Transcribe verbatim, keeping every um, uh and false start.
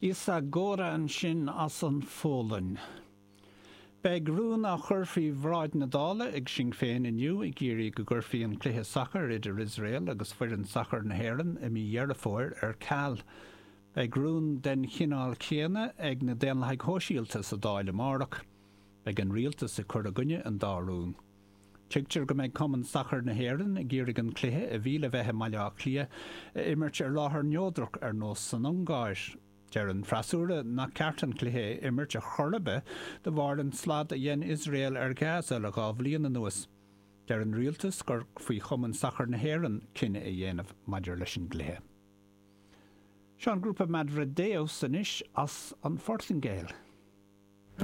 Isa Góra ansin as an Pholainn. Beidh rún á chur faoi bhráid na Dála ag Sinn Féin inniu ag iarraidh go gcuirfí an cluiche sacair idir Iosrael agus foireann sacair na hÉireann i mí Dheireadh Fómhair ar ceal. Beidh rún den chineál céanna ag na Daonlathaigh Shóisialta sa Dáil amárach. Beidh an rialtas ag cur i gcoinne an dá rún. Tuigtear go mbeidh Cumann Sacair na hÉireann ag iarraidh an cluiche a bhí le bheith i mBaile Átha Cliath a imirt ar láthair neodrach ar nós san Ungáir. Deir an freasúra nach ceart an cluiche a imirt ar chor ar bith de bharr an slad a dhein Iosrael ar Gaza le dhá bhliain anuas. Deir an rialtas gur faoi Chumann Sacair na hÉireann cinneadh a dhéanamh maidir leis an gcluiche. Seo an grúpa Madredeus anois as an Phortaingéil.